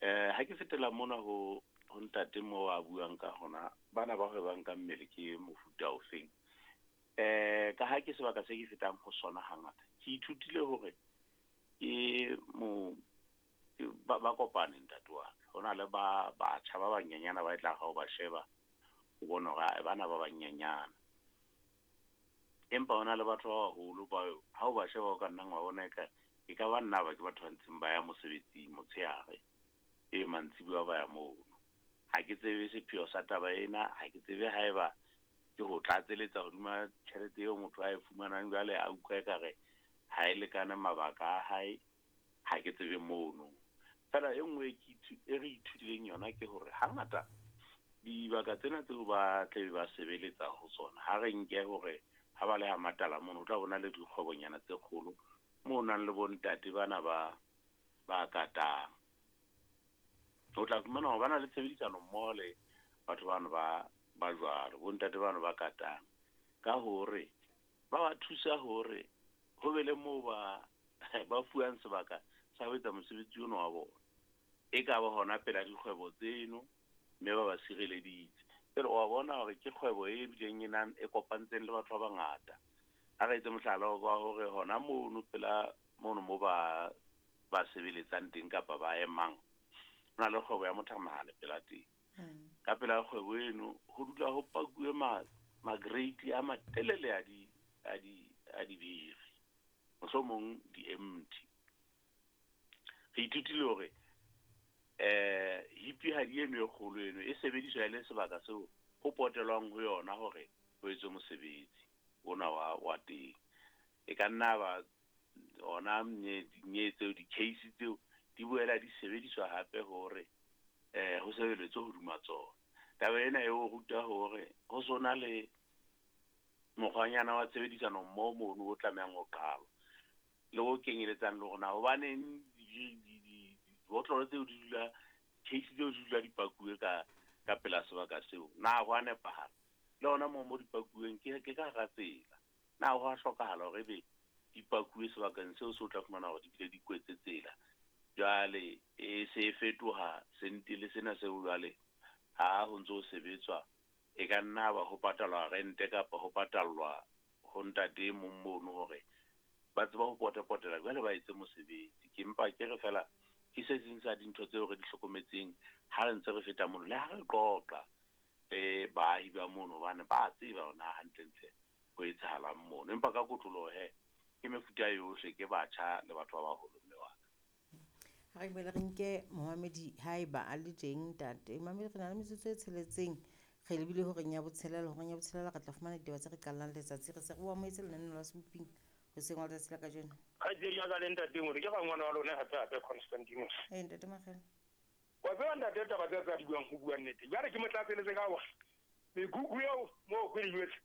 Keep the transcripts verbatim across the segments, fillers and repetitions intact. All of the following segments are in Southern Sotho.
Eh ha ke fetela mona ho ho ntate mo a buang ka hona bana ba hwebang ka mmele ke mofuta ofeng. Eh ka ha ke sebaka se ke fetang ho sona hangata. Ke ithutile hore ke mo ba ba kopane ntate wa ka. Ho na le ba batjha ba banyenyana ba e tla ha o ba sheba o bona hore bana ba banyenyana. Empa hona le batho ba baholo ba ha o ba sheba o ka nnang wa bona eka e ka ba nna ba ke batho ba ntseng ba ya mosebetsing motshehare e mantsibuya ba ya mono. Ha ke tsebe sepheo sa taba ena, ha ke tsebe haeba ke ho tlatseletsa hodima tjhelete eo motho a e fumanang jwale a utlwa ekare ha e lekane mabaka a hae, ha ke tsebe mono. Feela e nngwe e ke e re ithutileng yona ke hore hangata dibaka tsena tseo ba tlabe ba sebeletsa ho tsona, ha re nke hore ha ba le ha matala mono, o tla bona le dikgwebonyana tse kgolo moo nang le bontate bana ba ba katang. O tla fumana hore ba na le tshebedisano mmoho le batho bano ba ba jwalo, bontate bano ba katang. Ka hore ba ba thusa hore ho be le moo ba ba fuwang sebaka sa ho etsa mosebetsi ono wa bona. E ka ba hona pela dikgwebo tseno, mme ba ba sireleditse. Jwale wa bona hore ke kgwebo e bileng e nang e kopantseng le batho ba bangata. Ha re etse mohlala wa hore hona mono pela mono mo ba ba sebeletsang teng kapa ba emang, ho na le kgwebo ya mothamahale pela teng. Ka pela kgwebo eno ho dula ho pakuwe ma ma-grate a matelele a di a di a dibiri, mohlomong di-empty. Re ithutile hore eh hipihadi eno e kgolo eno e sebediswa e le sebaka seo ho potelwang ho yona hore ho etswe mosebetsi ona wa wa teng. E ka nna ba ona nye tseo di-case tseo di boela di sebediswa hape hore eh ho sebeletswe hodima tsona. Taba ena e o ruta hore ho sona le mokgwanyana wa tshebedisano mmoho mono o tlamehang ho qalwa le o kenyeletsang le hore na hobaneng dibotlolo tseo di dula, case tseo di dula di pakuwe ka ka pela sebaka seo, na ho a nepahala? Le hona moo mo di pakuweng ke ke ka hara tsela, na ho a hlokahala hore ebe di pakuwe sebakeng seo se o tla fumana hore di bile di kwetse tsela? Jwale e se e fetoha sentele sena seo jwale ha ho ntso sebetswa e ka nna ba ho patalwa rente kapa ho patallwa ho ntate e mong mono hore ba tseba ho potapotela jwale ba etse mosebetsi. Ke mpa ke re fela ke se seng sa dintho tseo re di hlokometseng ha re ntse re feta mono le ha re qoqa le baahi ba mono, hobane ba tseba hore na hantlentle ho etsahalang mono. Empa ka kotloloho he ke mefuta yohle, ke batjha le batho ba baholo mme wa ka. Ha re boele re nke momamedi haeba a le teng ntate. Momamedi, re na le metsotso e tsheletseng, re lebile horeng ya botshelela. Horeng ya botshelela re tla fumana ditaba tse re qallang letsatsi. Re se re o amohetse lenaneo la Seboping hoseng wa letsatsi la kajeno. Kgaitsedi ya ka le ntate Mori, ke rangwane wa lona hape hape Constantinus. Eh, ntate Makgele. Wa tseba ntate taba tse tsa di buang ho bua nnete. Jwale ke mo tlatseletse ka hore mekhukhu eo moo ke di jwetse,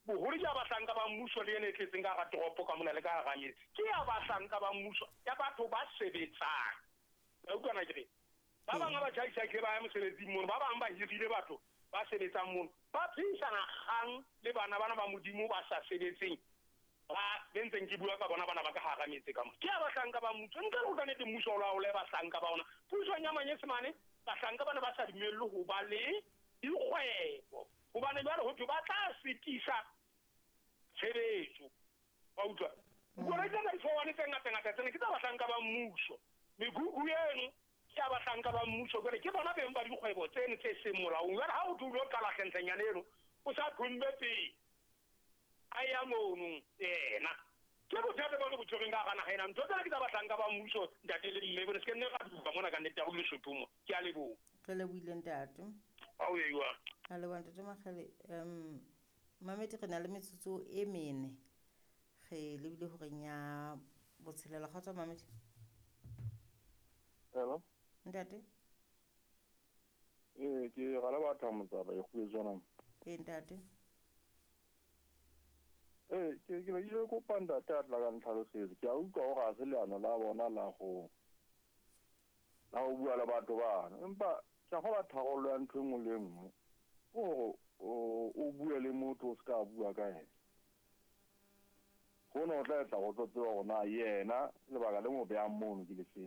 boholo ke ya bahlanka ba mmuso le ena e tletseng ka hara toropo ka mona le ka hara metse. Ke ya bahlanka ba mmuso, ya batho ba sebetsang. Wa utlwa na ke re? Ba bang ba tjhaisa ke ba ya mosebetsing mono, ba bang ba hirile batho ba sebetsang mono. Ba phehisana kgang le bana bana ba Modimo ba sa sebetseng, ba bentseng ke bua ka bona bana ba ka hara metse ka mona. Ke ya bahlanka ba mmuso. Ntle le ho ka nnete mmuso o laole bahlanka ba ona. Pusong ya Manyesemane, bahlanka bana ba sa dumellwe ho ba le dikgwebo, hobane jwale ho thwe ba tla sitisa tshebetso. Wa utlwa? Dikoloi tsena di fowane tse ngata-ngata tsena ke tsa bahlanka ba mmuso. Mekhukhu eno ke ya bahlanka ba mmuso, jwale ke bona beng ba dikgwebo tseno tse seng molaong. Jwale ha o thwe o lo qala hlentlenyana eno, o sa thombe pele a ya mono yena. Ke bothata bo re bo tshwereng ka hara naha ena. Ntho tsena ke tsa bahlanka ba mmuso, ntate le mme, bone se ke nne ra duba mona ka nnete ya ho Lesotho mo. Ke a leboha. Re lebohile ntate. Ha o ye jwang? A leboha ntate Makgele. Um Mamedi, re na le metsotso e mene, re lebile horeng ya botshelela. Kgotso Mamedi. Hello. Ntate. Eh, ke ra le batho motsaba e kgwetswana. Eh, ntate. Eh, ke ke ile kopa ntate a tla ka ntlhalosetsa. Ke a utlwa hore ha se leano la bona la go la ho bua le batho bana, empa ke a kgolwa tharollo ya ntho e nngwe le e nngwe hore o o bue le motho o se ka bua ka yena. Hona o tla etsa go tlo tseba hore na yena lebaka le mo behang mono ke lefeng.